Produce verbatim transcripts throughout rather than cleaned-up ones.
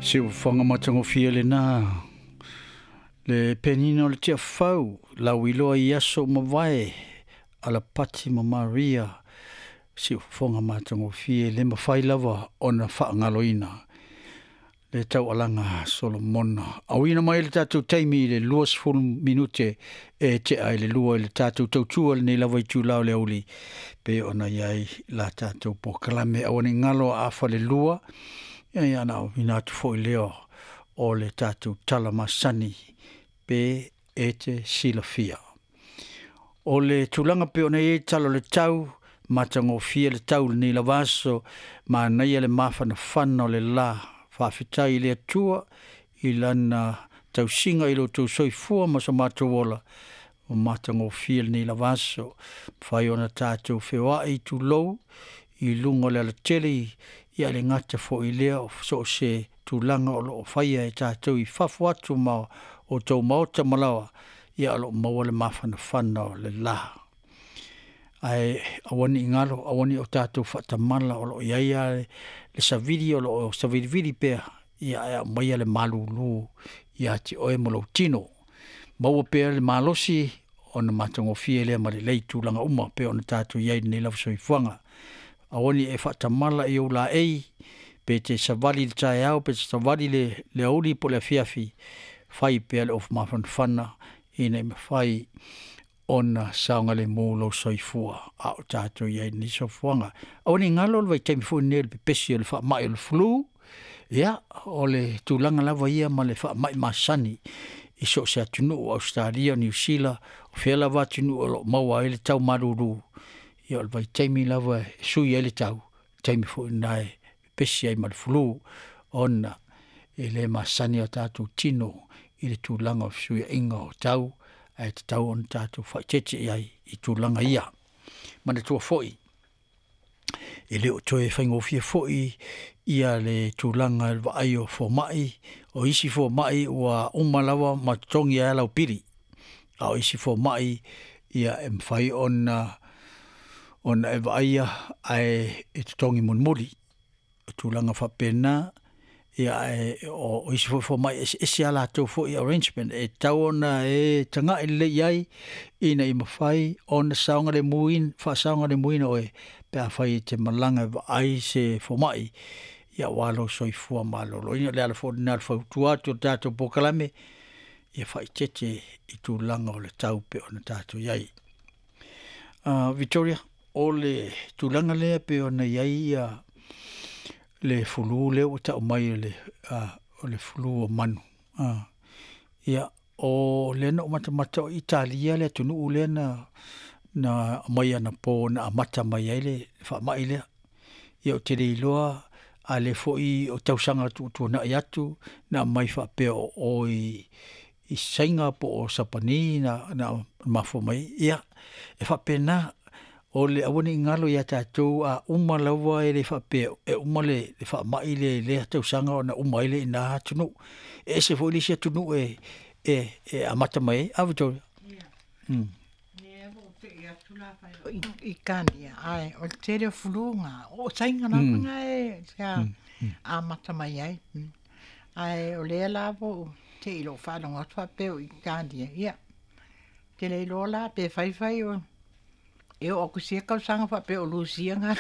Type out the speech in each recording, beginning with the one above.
Siufofoga matagofie lena le penina o le Tiafau lauiloa i aso ua mavae Alapati ma Maria. Siufofoga matagofie le mafai lava ona faagaloina le taualaga a Solomona. Auina mai le tatou taimi i le luasefulu minute e tea i le lua i le tatou tautua lenei lava itula o le aoauli pe ona i ai la tatou polokalame. Aua ne i galo afa le lua, ia ona auina atu foi lea o le tatou tala masani pe e te silafia. O le tulaga pe ona i ai tala o le tau, matagofie le tau lenei lava aso, manaia le mafanafana o le la. Faafetai i le Atua i lana tausiga i lo outou soifua ma so matou ola, ua matagofie lenei lava aso. Mafai ona tatou feoai tulou i luga o le alatele, ia le gata foi lea o so o se tulaga o lo o faia e tatou i fafo atu ma o tou maota malaoa, ia o lo o maua le mafanafana o le la. Ae aua ne i galo, aua ne i o tatou faatamala o lo o i ai lava le savili o lo o savilivili pea, ia ae aumaia le malūlū ia te oe ma lou tino. Maua pea le malosi ona matagofie lea ma lelei tulaga uma pe ona tatou i ai lenei lava soifuaga. Aua ne i e faatamala i ou laei, pe te savali i le taeao, pe te savali le, le aoauli po o le afiafi, fai pea le ofu mafanafana ina ia mafai ona saogalemu lou soifua a o tatou i ai lenei soifuaga. Aua ne i galo le vaitaimi foi lenei o le pepesi o le faamai o le flu, ia o le tulaga lava ia ma le faamai masani i so o se atunuu, Ausetalia, Niu Sila, o fea lava atunuu o lo o maua ai le tau malūlū, ia o le vaitaimi lava e sui ai le tau, taimi foi lena e pepesi ai ma le flu, ona e le masani o tatou tino i le tulaga o fesuiaiga o tau, ae tatau ona tatou faaeteete i ai i tulaga ia. Manatua foi, e le o toe faigofie foi ia le tulaga i le vaai o fomai, o isi fomai ua uma lava ma totogi ai lau pili, a o isi fomai ia e mafai ona ona e vaaia ae e totogi mulimuli. O tulaga faapena, ia ae o isi foi fomai e eseese a latou foi arrangement e tatau ona e tagai lelei i ai ina ia mafai ona saogalemuina, faasaogalemuina oe pe afai e te malaga e vaai se fomai, ia aua lou soifua maloloina. O le ala foi lena o le fautua atu o le tatou polokalame, ia faaeteete i tulaga o le tau pe ona tatou i ai. Uh, Victoria, o le tulaga lea pe ona i ai ia le fulu lea ua tau mai o le, uh, o le fulu o manu. Uh, ia, o lea na ou matamata o Italia le atunuu lea na, na aumai anapo na amata mai ai le faamai lea. Ia ou te le iloa a lea foi o tausaga tuutuanai atu na aumai faapea o o i, i Saina po o Sapani na, na mafua mai. Ia, e faapena, o le aua ne i galo ia tatou a uma lava e le faapea e uma le, le faamai le lea tausaga ona uma ai le ina atunuu. E ese foi le isi atunuu e, e, e amata mai ai. A Victoria? Mm. Italia, ae o le tele o fuluga o Saina lava Mm. na e sea Mm. amata mai ai. Mm. Ae o lea la ua ou te i lou faalogo atu faapea o Italia, ia te le iloa la pe faifai o e oo atu sia tausaga faapea o Lusia ga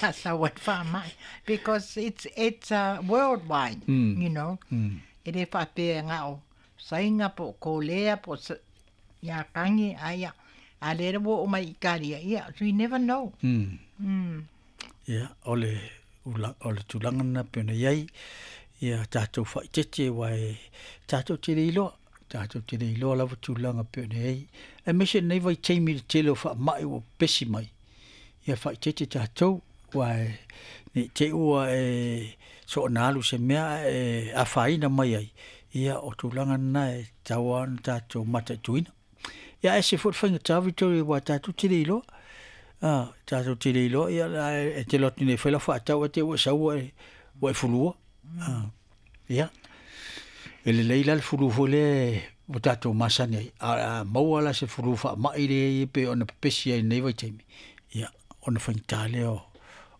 la sau ai le faamai, because it's it's uh, worldwide, Mm. you know Mm. e le faapea na o Saina po o Kolea po o Iapani, a ia a lea ua oo mai Italia, ia so you never know. Mm. Mm. Ia, o le, ula, o le tulaga lena pe ona i ai, ia tatou faaeteete aua e tatou te le iloa, tatou te le iloa lava tulaga pe ona i ai. Aemaise lenei vaitaimi i le tele o faamai ua pepesi mai, ia faaeteete tatou, aua e ne i te i ua e soona alu i se mea ae afaina mai ai, ia o tulaga lena e tatau lava ona tatou mataituina. Ia ae ese foi le faigata Victoria aua tatou te le iloa. Ah, tatou te le iloa, ia e te alu atu nei e fai lau faatau ae te i ua e sau ua e, ua e fulua. Ah, ia. E lelei la le fulu foi lea ua tatou masani ai, a, a maua la se fulu faamai lea e pei ona pepesi ai i lenei vaitaimi, ia ona faigata lea o,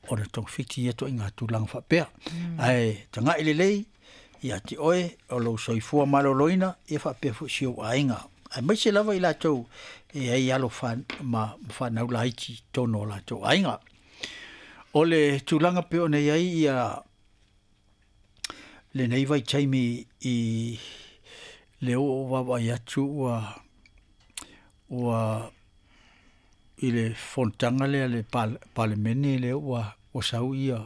ona togafiti ia toaiga tulaga faapea. Ae taga'i lelei ia te oe o lou soifua malōlōina ia faapea fo'i si ou aiga aemaise lava i latou e ai alo ma fanau laiti tonu o latou aiga. O le tulaga pei ona i ai ia lenei vaitaimi i le oo vaavaai atu ua ua i le fonotaga lea a le Palemene lea ua ua sau ia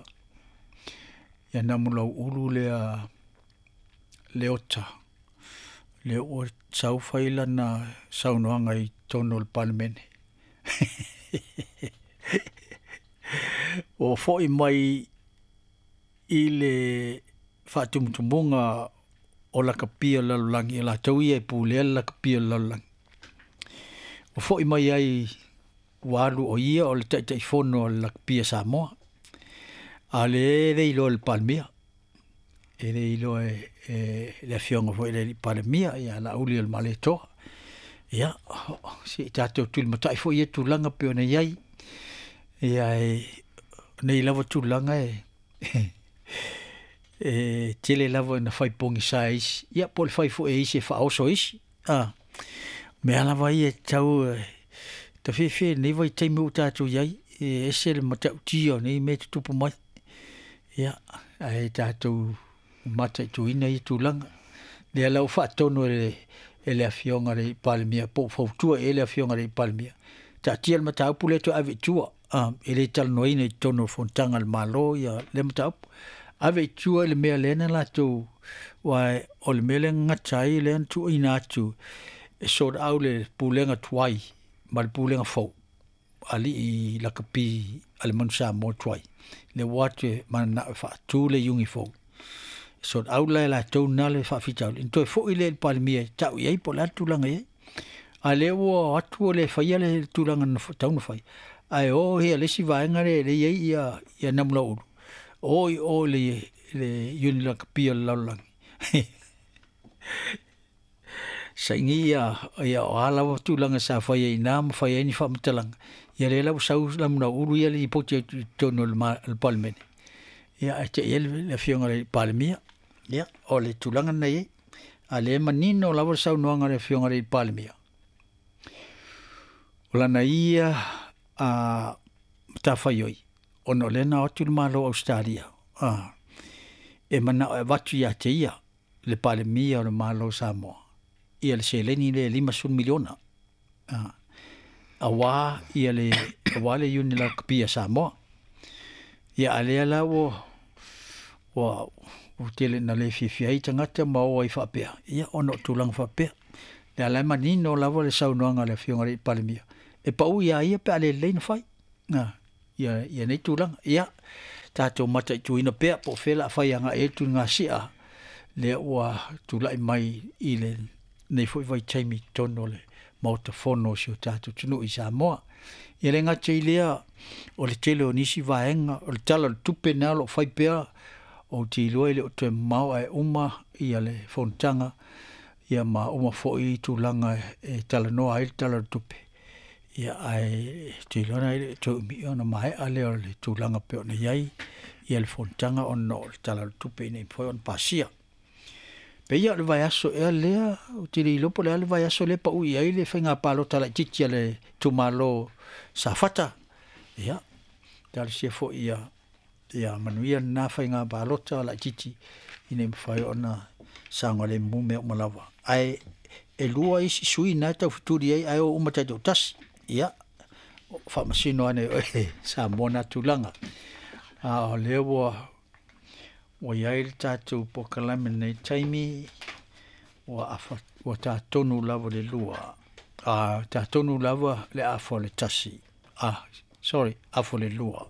ia Namulauulu lea Leota lea ua sau fai lana saunoaga i totonu o le Palemene. Ua fo'i mai i le faatumutumuga o lakapi o le lalolagi o latou ia e pulea le lakapi o le lalolagi. Ua fo'i mai ai ua alu o ia o le Taitaifono o le Lakapi a Samoa, a o lea e le iloa e le Palemia, e le iloa e, e le afioga foi i le alii Palemia ia Laauli o le Malietoa. Ia se i tatou tulimata'i foi ia tulaga pei ona i ai. Ia e nei lava tulaga e e tele lava ina fai pogisa e isi, ia po o le fai foi e isi e faaoso e isi. A mea lava ia e tatau tafefe i lenei vaitaimi ua tatou i ai, e ese le matautia o nei mea e tutupu mai. Ia ae tatou mataituina ia tulaga. Lea la ua faatonu e le e le afioga i le Palemia po ua fautua i ai le afioga i le Palemia, taatia le mataupu lea toe ave i tua, a e le talanoaina i totonu o le fonotaga a le Malo ia lea mataupu. Ave i tua i le mea lea na latou aua o le mea lea na gata ai lea na tuuina atu e sort out le pulega tuai ma le pulega fou alii lakapi a le Manu Samoa tuai lea ua o atu e mananao e faatu le iugi fou. E sort out la e latou na le faafitauli ona toe fo'i lea i le Palemia e ta'u i ai po o le a le tulaga e i ai. A o lea ua o atu ua le faia le tulaga na tatau ona fai ae o ia le isi vaega lea e i ai ia ia Namulauulu o i o i le le Iuni Lakapi o le lalolagi. Saini ia ia o a lava tulaga sa faia i ina ma fai ai ni faamatalaga ia lea la ua sau Namulauulu ia lipoti atu i totonu o le Palemene. Ia ae te'i ai le afioga i le Palemia. Ia o le tulaga lena e i ai. A o lea e manino lava le saunoaga a le afioga i le Palemia, o lana ia a matafaioi ona o lea na o atu le Malo o Ausetalia a e manao e avatu ia te ia le Palemia o le Malo o Samoa ia le seleni lea e limasefulu miliona a auā ia le auā le Iuni Lakapi a Samoa. Ia a o lea la ua ua ua tele ina le fiafia ai tagata ma o ai faapea, ia ona o tulaga faapea. Lea la e manino lava le saunoaga a le afioga i le Palemia, e pau iā ia pe a le lelei ona fai a ia ia nei tulaga. Ia tatou mataituina pea po o fea o le a fai agai ai le tuligasia lea ua tulai mai i lenei foi vaitaimi i totonu o le Maota Fono o si o tatou atunuu i Samoa. Ia le gata i lea o le tele o nisi vaega o le Tala o le Tupe lena o lo o fai pea, ou te iloa e le o toe mamao ae uma ia le fonotaga ia ma uma foi tulaga e talanoa ai le Tala o le Tupe. Ia ae ou te iloa e le o toe umi ona maea lea o le tulaga pei ona i ai ia le fonotaga ona o le Tala o le Tupe ina ia mafai ona pasia. Pei o le vaiaso ea lea, ou te le iloa po o le a le vaiaso lea e pau i ai le faiga palota laitiiti a le itumalo Safata. Ia, talosia foi ia ia manuia lena faiga palota laitiiti ina ia mafai ona saogalemu mea uma lava. Ae e lua isi sui na e taufetuli ai ae o uma taitoatasi. Ia, faamasino ane i oe Samoa na tulaga. A o lea ua ua i ai le tatou polokalame i lenei taimi ua afa ua tatonu lava le lua, a tatonu lava le afa o le tasi, ah sorry, afa o le lua.